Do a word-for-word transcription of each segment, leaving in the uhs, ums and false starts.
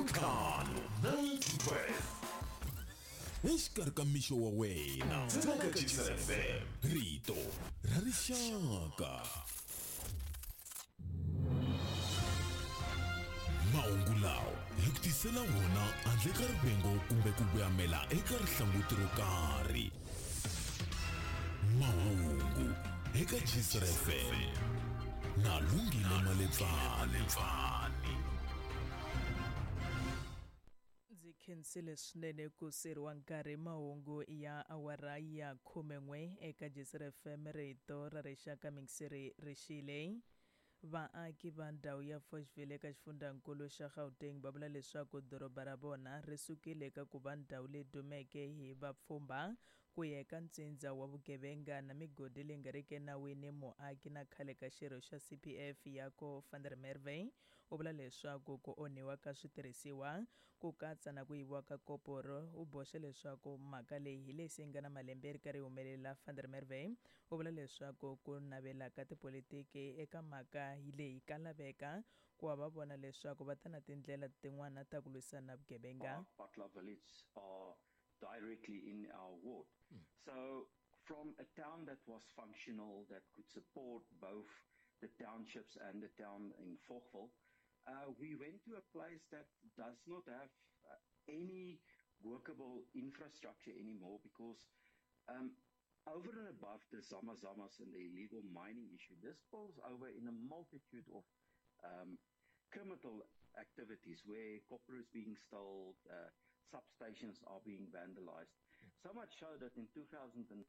Ntlhanu nine to twelve exikarhi ka mixo wa wena ntsena ka Gcis F M, rito ra rixaka. Mahungu lawa hi ku tisela wona handle ka rivengo kumbe ku voyamela eka rihlanguti ro karhi. Mahungu eka Gcis F M na Lungile Malebvani. Ndzi khensile swinene ku siriwa nkarhi. Mahungu ya awara ya khumen'we eka Gcis F M, rito ra rixaka. Mingiseri rixile. Vaaki va ndhawu ya Fochville eka xifundzankulu xa Gauteng va vula leswaku doroba ra vona ri sukile eka ku va ndhawu leyi dumeke hi vapfhumba ku ya eka ntsindza wa vugevenga na migodi leyi nga riki enawini. Muaki na khale ka xirho xa C P F Jaco van der Merwe u vula leswaku ku onhiwa ka switirhisiwa ku katsa na ku yiviwa ka koporo. U boxe leswaku mhaka leyi hi leyi se yi nga na malembe yi ri karhi yi humelela. Van der Merwe u vula leswaku ku navela ka tipolitiki eka mhaka leyi ka laveka ku va va vona leswaku va ta na tindlela tin'wana ta ku lwisana na vugevenga. Butler village are directly in our ward. So from a town that was functional, that could support both the townships and the town in Fochville, uh, we went to a place that does not have uh, any workable infrastructure anymore because um, over and above the zamazamas and the illegal mining issue, this spills over in a multitude of um, criminal activities where copper is being stolen, uh, substations are being vandalized. So much so that in two thousand and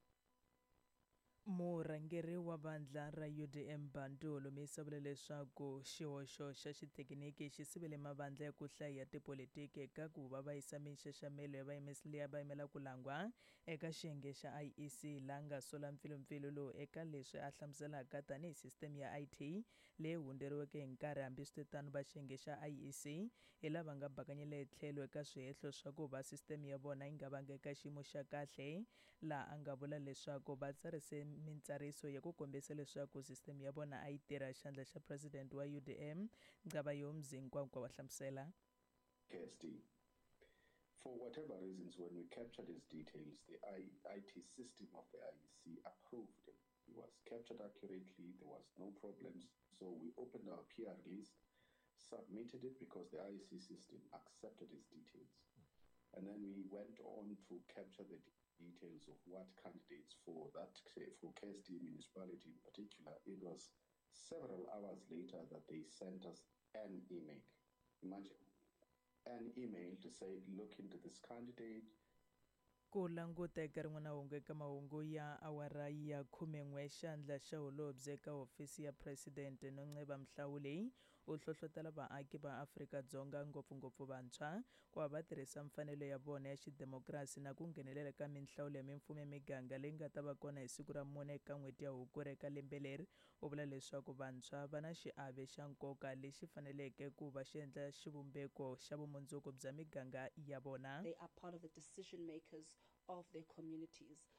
Murhangeri wa vandla ra U D M Bantu Holomisa vule leswaku xihoxo xa xithekiniki xi sivele mavandla ya ku hlaya ya tipolitiki eka ku va va yisa minxaxamelo ya vayimesi leyi va yimela ku langwa eka xiyenge xa I E C, laha nga sola mpfilumpfilu lowu eka leswi a hlamuselaka tanihi sisiteme ya I T leyi hundzeriweke hi nkarhi. Hambiswiritano, va xiyenge xa I E C hi lava nga bakanyela etlhelo eka swihehlo swa ku va sisiteme ya vona yi nga vanga eka xiyimo xa kahle, laha a nga vula leswaku va tsarise mintsariso ya ku kombisa leswaku sisiteme ya vona a yi tirha. Xandla xa president wa U D M Nqabayomzi Kwankwa wa hlamusela. K S D. For whatever reasons, when we captured his details, the I IT system of the I E C approved him. He was captured accurately, there was no problems. So we opened our P R list, submitted it because the I E C system accepted his details. And then we went on to capture the details of what candidates for that, for K S D municipality in particular. It was several hours later that they sent us an email. Imagine, an email to say, "Look into this candidate." Ku languta eka rin'wana hungu eka mahungu ya awara ya khumen'we, xandla xa holobye eka hofisi ya president Nonceba Mhlawuli u hlohlotela vaaki va Afrika-Dzonga, ngopfungopfu vantshwa, ku va va tirhisa mfanelo ya vona ya xidemokirasi na ku nghenelela ka minhlawulo ya mimfumo ya miganga leyi nga ta va kona hi siku ra mune eka n'hweti ya Hukuri eka lembe leri. U vula leswaku vantshwa va na xiave xa nkoka lexi faneleke ku va xi endla xivumbeko xa vumundzuku bya miganga ya vona. They are part of the decision makers of their communities.